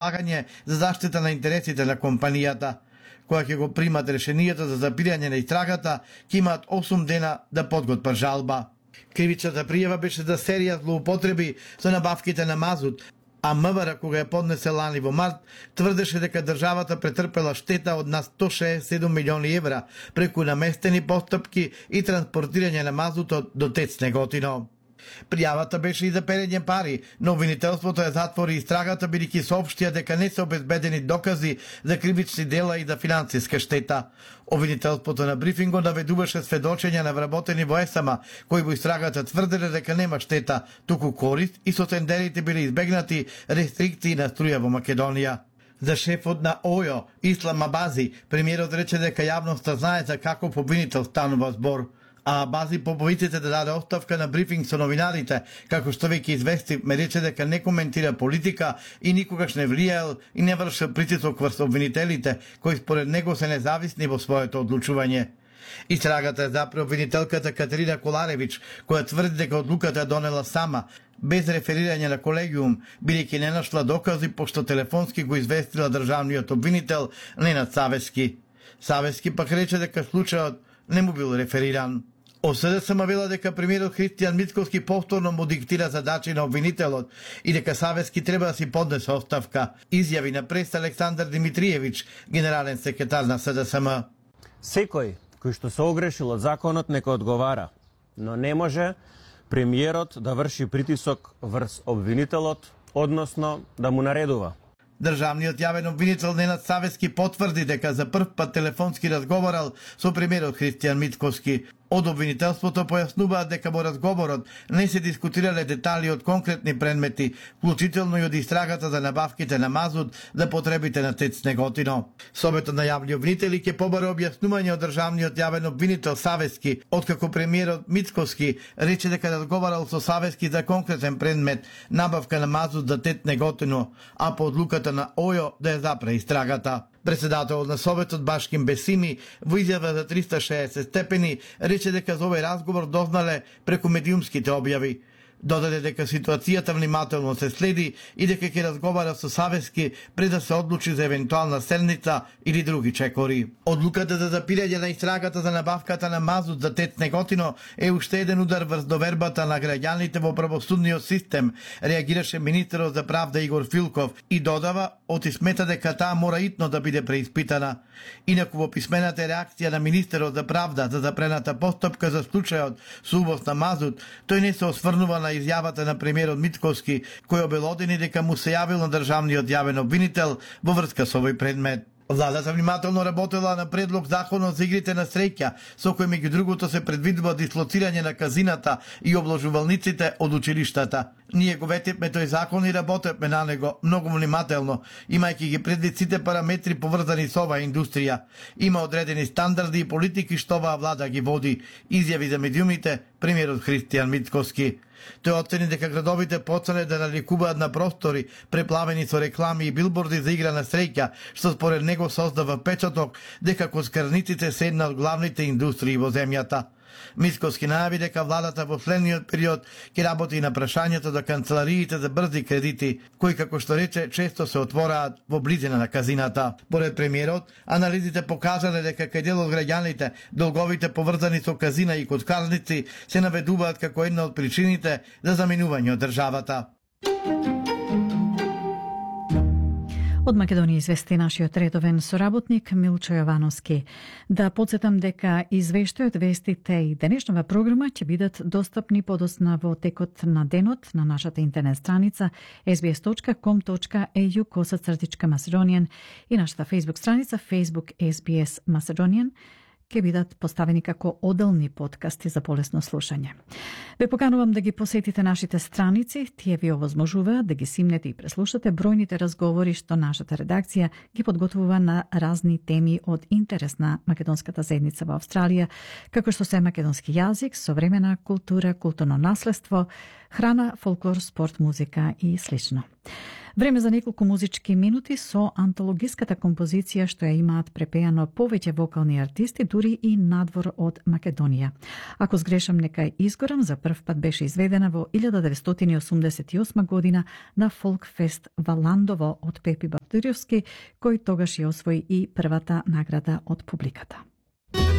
предлагање за заштита на интересите на компанијата, која ќе го примат решенијата за запирање на истрагата, ќе имаат 8 дена да подготват жалба. Кривичната пријава беше за серија злоупотреби со набавките на мазут, а МВР, кога ја поднесе лани во март, тврдеше дека државата претрпела штета од на 167 милиони евра преку наместени постапки и транспортирање на мазутот до ТЕЦ Неготино. Пријавата беше и за перење пари, но обвинителството ја затвори истрагата бидејќи соопштија дека не се обезбедени докази за кривични дела и за финансиска штета. Обвинителството на брифингот наведуваше сведочења на вработени во ЕСАМА, кои во истрагата тврделе дека нема штета, туку корист и со тендерите биле избегнати рестрикции на струја во Македонија. За шефот на ОЈО, Ислам Абази, премиерот рече дека јавноста знае за каков обвинител станува збор. А Абази по повиците да даде оставка на брифинг со новинарите, како што веќе извести, ме рече дека не коментира политика и никогаш не влијаел и не вршил притисок врз обвинителите, кои според него се независни во своето одлучување. Истрагата е запре обвинителката Катерина Коларевич, која тврди дека одлуката донела сама, без реферирање на колегиум, бидејќи не нашла докази, пошто телефонски го известила државниот обвинител Ненад Савески. Савески пак рече дека случајот не му бил рефериран. ОСД самавела дека премиерот Христијан Мицковски повторно му диктира задачи на обвинителот и дека Савески треба да си поднесе оставка, изјави на прес Александар Димитриевич, генерален секретар на СДСМ. Секој кој што се огрешил од законот нека одговара, но не може премиерот да врши притисок врз обвинителот, односно да му наредува. Државниот јавен обвинител Ненад Савески потврди дека за прв пат телефонски разговарал со премиерот Христијан Мицковски. Од обвинителството појаснуваат дека во разговорот не се дискутирале детали од конкретни предмети, вклучително и од истрагата за набавките на мазут за потребите на ТЕЦ Неготино. Советот на јавни обвинители ќе побаре објаснување од државниот јавен обвинител Савески, откако премиерот Мицковски рече дека разговарал со Савески за конкретен предмет, набавка на мазут за ТЕЦ Неготино, а по одлуката на ОЈО да ја запре истрагата. Председателот на Советот Башким Бесими во изјава за 360 степени рече дека за овој разговор дознале преку медиумските објави. Додаде дека ситуацијата внимателно се следи и дека ќе разговара со Савески пред да се одлучи за евентуална седница или други чекори. Одлуката за запирање на истрагата за набавката на мазут за ТЕЦ Неготино е уште еден удар врз довербата на граѓаните во правосудниот систем, реагираше министерот за правда Игор Филков и додава оти смета дека таа мора итно да биде преиспитана. Инаку во писмената реакција на министерот за правда за запрената постапка за случајот со увоз на мазут, тој не се осврнува на изјавата на премиерот Мицковски, кој обелодени дека му се јавил на државниот јавен обвинител во врска со овој предмет. Владата внимателно работела на предлог законот за игрите на среќа, со кој меѓу другото се предвидува дислоцирање на казината и обложувалниците од училиштата. Ние го ветивме тој закон и работевме на него многу внимателно, имајќи ги предвид сите параметри поврзани со оваа индустрија. Има одредени стандарди и политики што оваа влада ги води, изјави за медиумите премиерот Христијан Мицковски. Тој оцени дека градовите почнале да наликуваат на простори преплавени со реклами и билборди за игра на среќа, што според него создава впечаток дека коцкарниците се една од главните индустрии во земјата. Мицковски најави дека владата во следниот период ќе работи и на прашањето за канцелариите за брзи кредити, кои, како што рече, често се отвораат во близина на казината. Поред премиерот, анализите покажале дека кај дел од граѓаните долговите поврзани со казина и коцкарници се наведуваат како една од причините за заминување од државата. Од Македонија извести нашиот редовен соработник Милчо Јовановски. Да подсетам дека извештајот, вестите и денешнава програма ќе бидат достапни подоцна во текот на денот на нашата интернет страница sbs.com.au/Macedonian и нашата Facebook страница Facebook SBS Macedonian ќе бидат поставени како оделни подкасти за полесно слушање. Ве поканувам да ги посетите нашите страници, тие ви овозможуваат да ги симнете и преслушате бројните разговори што нашата редакција ги подготвува на разни теми од интерес на македонската заедница во Австралија, како што се македонски јазик, современа култура, културно наследство, храна, фолклор, спорт, музика и слично. Време за неколку музички минути со антологиската композиција што ја имаат препејано повеќе вокални артисти, дури и надвор од Македонија. Ако сгрешам, нека изгорам, за прв пат беше изведена во 1988 година на Фолкфест Валандово од Пепи Бартуриовски, кој тогаш ја освои и првата награда од публиката.